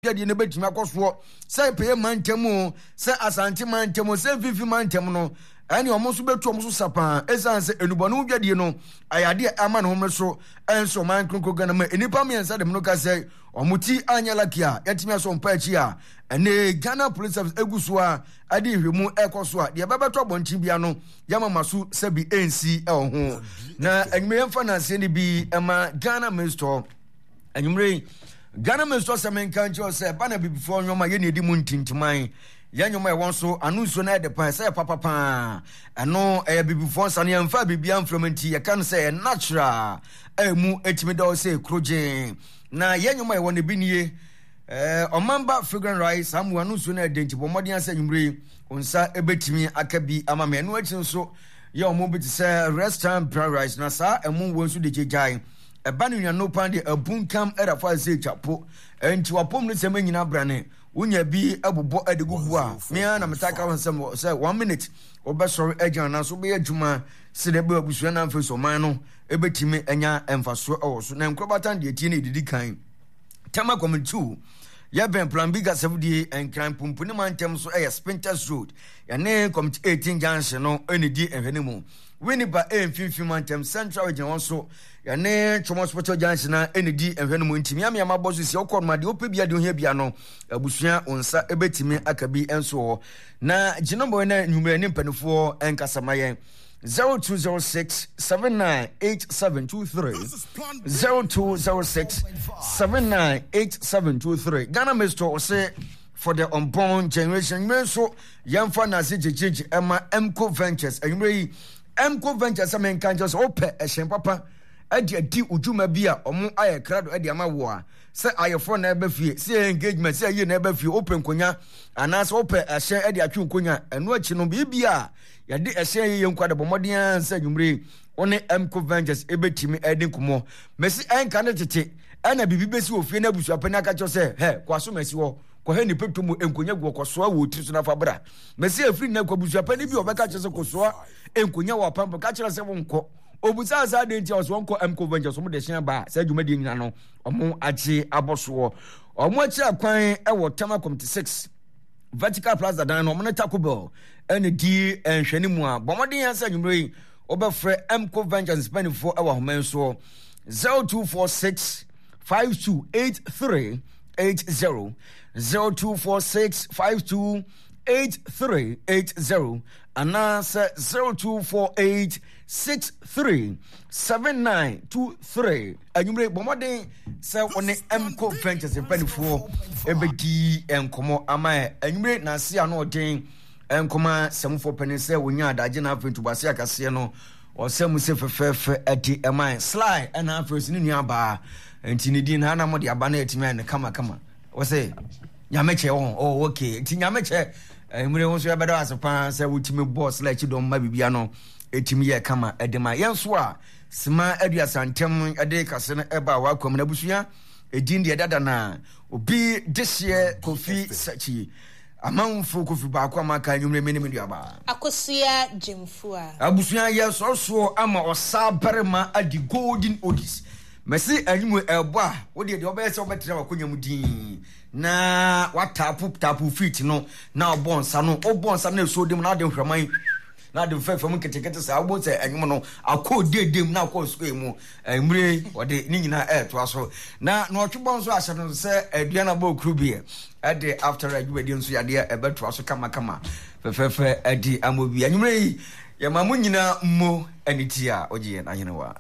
Dwadie no bɛtumi akɔ soɔ sɛ pɛyɛ mantam o, sɛ Asante mantam o, sɛ Mfimfini mantam no, ɛne wɔn nso bɛtu wɔn so sa paa. Ɛsiane sɛ nnubɔne ho dwadie no ayɛ adeɛ a ama ne homene so ɛnso ɔman kronkron Ghana mu nnipa mmiɛnsa dɛm no ka sɛ wɔn ti anyɛ laki a yɛatumi asɔ mpa akyi a ɛne Ghana Police Service egu so a ɛde nhwɛmu ɛkɔ so a deɛ ɛbɛbɛtɔ abɔnten bia no yɛama ma so sɛbi ɛnsi ɛwɔ ho. Na anwummerɛ yɛmfa nanseɛ no bi ɛma Ghana Minister. Anwummere yi, Ghana Minister sɛ menka nkyerɛ wo sɛ ɛba na abibifoɔ nneɛma yɛ nea ɛdi mu ntintiman. Yɛn nneɛma ɛwɔ nso ano nsuo no ɛde pan sɛ yɛ papa paa. Ɛno ɛyɛ abibifoɔ nsa no yɛmfa biribiara mfra mu nti yɛka no sɛ ɛyɛ natural a ɛmu ɛtumi dɔ sɛ kurogyen. Na yɛn nneɛma ɛwɔ no ebi nie. Ɛɛ ɔmanba fragrant rice saa mu ano nsuo no ɛde nti bɔ mmɔden asɛ anwummere yi wo nsa ɛbɛtumi aka bi ama me. Ɛno akyi nso yɛ wɔn bi te sɛ restaurant brown rice na saa ɛmo wɔ nso de gyegyae. Ɛba no nnuano paa deɛ abunkam ɛda fa sɛ twa po. Ɛnti wapom no sɛm nyina brane. Wonya bi bobɔ ɛde gugu a, me ara na metaa ka ho sɛm sɛ one minute wobɛsɔre agyina anaasɛ wobɛyɛ adwuma sɛdeɛ ɛbɛyɛ abusua no afei so ɔman no ɛbɛtumi anya mfasoɔ ɛwɔ so. Na nkorabata deɛ tie no ɛdidi kan. Tema Community 2 yɛbɛn Plan B Gasafudie Nkran Pumpuni mantam so ɛyɛ Spintex Road yɛne Community 18 Junction no ɛna di nhwɛne mu. Winneba ɛyɛ mfimfini mantam Central Region wɔn so yɛne Twom Hospital Junction na ɛna di nhwɛ no mu nti mmeammea mabɔ so si ɔkɔ no ma deɛ wopɛ bia deɛ ohia bia no abusua wo nsa ɛbɛtumi aka bi nso hɔ na gyinabɔ na nnwummerɛ ne mpanimfoɔ nkasa ma yɛn 0206 798723 0206 798723 Ghana Mr. Ose for the unborn generation nwummerɛ nso yɛmfa nase gyegyegye ɛma Mco Ventures anwummerɛ yi Mco Ventures sɛ menka nkyerɛ sɛ wopɛ ɛhyɛn papa ɛde adi wo dwuma bi a ɔmo ayɛ krado ɛde ama wo a sɛ ayɛforɔ na ɛbɛ fie sɛ engagement sɛ ayie na ɛbɛ fie wopɛ nkonya anaasɛ wopɛ ɛhyɛn ɛde atwe nkonya ɛno akyi no biribi a yɛde ɛhyɛn yɛyɛ nkwa de bɔ mmɔden ara sɛ anwummere wo ne Mco Ventures ɛbɛtumi ɛde nkɔmmɔ mɛsi ɛnka ne tete ɛna biribi bɛsi wɔ fie no abusuapɛni aka kyerɛ sɛ hɛ kɔ aso mɛsi hɔ kɔhɛ ne pɛtɔ mu nkonya gu ɔkɔsoa wɔ tiri so nafa bra mɛsi ɛfiri nnɛ kɔ abusuapɛni bi ɔbɛka kyerɛ sɛ kɔsoa nkonya wɔ apampo ka kyerɛ sɛ wonkɔ obusaa saa adeɛ nti a ɔsɛ wɔnkɔ Mco Ventures wɔn de hyɛn ba saa dwumadie nyina no wɔn agye abɔ soɔ wɔn akyi akwan ɛwɔ Tema Committee 6 Vertical Plaza dan no wɔn ne Taco Bell ɛna di nhwɛne mu a bɔ mmɔden yɛn sɛ anwummerɛ yi wɔbɛfrɛ Mco Ventures mpanimfoɔ ɛwɔ ahoma nsoɔ 0246 5283 80 0246 5283 80 anaasɛ 0248 63 7923 anwummere bɔ mmɔden sɛ wo ne mco ventures mpanimfoɔ ɛbɛdi nkɔmmɔ ama ɛ anwummere nase ano ɔden nkɔma sɛmfoɔ panin sɛ wɔnya adagye na afei ntobase akaseɛ no ɔsɛ mu sɛ fɛfɛɛfɛ ɛde ɛma ɛ sly ɛna afei so ne nua baa nti ne din na ana mo de aba na ɛtumi ayɛ no kamakama wɔsɛ nyamekyɛ wɔn oh okay nti nyamekyɛ anwummere ho nso yɛbɛda ase paa sɛ wotumi bɔ sly akyi dɔm ma biribia no ɛtumi yɛ kama ɛde ma yɛn nso a Sima 30 ntam de kase no ɛba w'akwam na abusua edin deɛ dada na obi dehyeɛ Kofi Sakyi amanfo Kofi baako a maka anwummerɛ me ne me nuabaa. Akosua Gyamfua. Abusua yɛ sɔsoɔ ama ɔsaa barima adi golden oldies. Mɛsi anwummerɛ ɛbɔ a wodeɛ deɛ wobɛyɛ sɛ wobɛtena w'akonya mu din na wataapo taapo feet no na ɔbɔ nsa no wobɔ nsa no ɛsuo dem na ade nhwɛman na ade mfɛfɛ mu nketenkete saa wobɛhu sɛ ɛnwom no akɔ deedee mu na akɔ sukuu mu mmire wɔde ne nyinaa ɛretoa so na na ɔtwe bɔ nso ahyɛ no sɛ aduan abɔ okuru bi ɛde after adwumadie nso yadeɛ ɛbɛtoa so kamakama fɛfɛɛfɛ ɛde ama bi anwummerɛ yi yɛma mo nyinaa mmo ɛne ti a wogye yɛn ahenewa.